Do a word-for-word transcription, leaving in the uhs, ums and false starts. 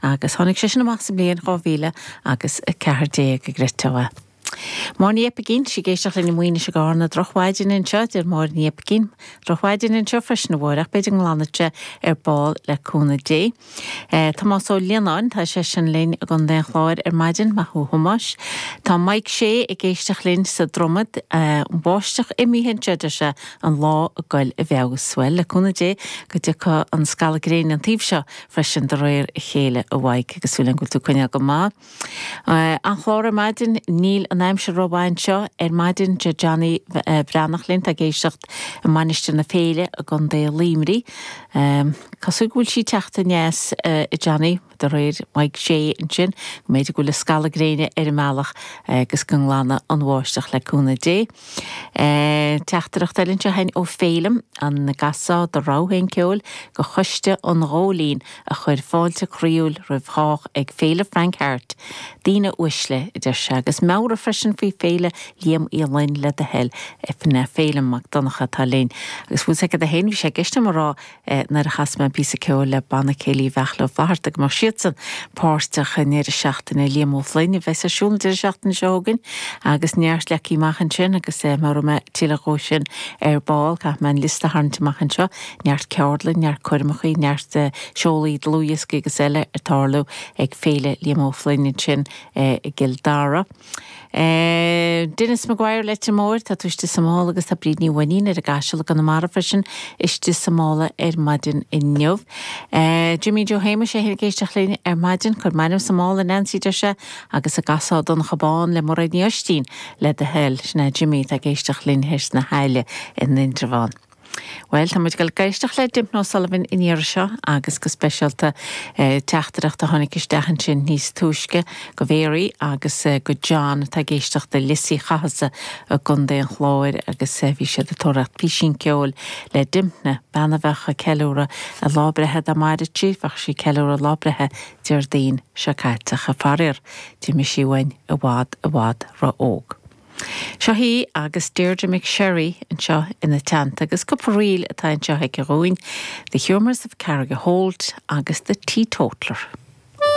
agus tháinig sé sin amach sa mbliain dhá mhíle agus a ceathair déag a gcreidfeá. Máire Ní Oipeigín, sí ag éisteacht linn i Maínis i gCarna, drochmhaidin anseo, deir Máire Ní Oipeigín. Drochmhaidin anseo freisin a Mháire, ach b'fhéidir go nglanfaidh sé ar ball le cúnamh Dé. Tomás Ó Lionáin, tá seisean linn i gContae an Chláir ar maidin, maith thú a Thomáis. Tá Mike Shea ag éisteacht linn sa Dromad, an bháisteach imithe anseo, deir sé, an lá ag goil i bhfeabhas. Bhuel, le cúnamh Dé go dtiocfaidh an scalladh gréine an taobh seo freisin de réir a chéile a Mhaidhc, agus súil agam go bhfuil tú ag coinneáil go maith. An-chlár ar maidin, níl an aimsir rómhaith anseo ar maidin, deir Johnny Breathnach linn, tá ag éisteacht i Mainistir na Féile i gContae Luimnigh. Cosúil go bhfuil sí ag teacht aneas a Johnny, de réir Mike Shea ansin, go mb'fhéidir go bhfuil an scalladh gréine ar an mbealach agus go nglanfaidh an bháisteach le cúnamh Dé. Teachtaireacht eile anseo againn ó Féilim, an gcasfá do rogha féin ceoil go Choiste an Ghóilín a chuir fáilte croíúil roimh chách ag Féile Frank Harte. Daoine uaisle, a deir sé, agus meabhraigh freisin faoi Féile Liam Uí Fhloinn le do thoil, sin é Féilim Mac Donncha atá linn. Agus bhfuil 's agat féin, bhí sé i gceist agam a rá nuair a chas mé an píosa ceoil le Banna Céilí Bheachla Ó Flatharta go mbeadh siadsan páirteach i ndeireadh seachtaine Liam Ó Floinn a bheas ar siúl an deireadh seachtaine seo chugainn agus neart leagtha amach ansin agus meabhróidh mé tuilleadh dhó sin ar ball. Caithfidh mé an liosta a tharraingt amach anseo, neart ceardlann, neart coirmeachaí, neart seolaí dlúthdhioscaí agus eile ag tarlú ag Féile Liam Ó Floinn ansin i gCill Dara. Denis Maguire Leitir Móir, tá tú istigh sa mála agus tá Bríd Ní Mhainnín ar an gCaiseal i gConamara freisin istigh sa mála ar maidin inniu. Jimmy Joe Shéamuis é féin ag éisteacht linn ar maidin, cuir m'ainm sa mála Nancy deir sé agus an gcasfá Donncha Bán le Mairéad Ní Oistín le do thoil. Sin é Jimmy atá ag éisteacht linn thoir sna hAille in Indreabhán. Bhuel, tá muid ag dul ag éisteacht le Dympna O'Sullivan an iarraidh seo agus go speisialta teachtaireacht a tháinig isteach ansin níos túisce go Mary agus go John atá ag éisteacht i Lios Uí Chathasaigh i gContae an Chláir agus bhí siad ag tóraíocht písín ceoil le Dympna, bean a bheadh ag ceiliúradh a lá breithe dá maireadh sí, bheadh sí ag ceiliúradh a lá breithe Déardaoin seo caite ach faraor d'imigh sí uainn i bhfad i bhfad ró-óg. Seo í agus Deirdre McSherry anseo ina teannta agus cúpla ríl atá anseo aici dhúinn, The Humours of Carrigaholt agus The Teetotaller.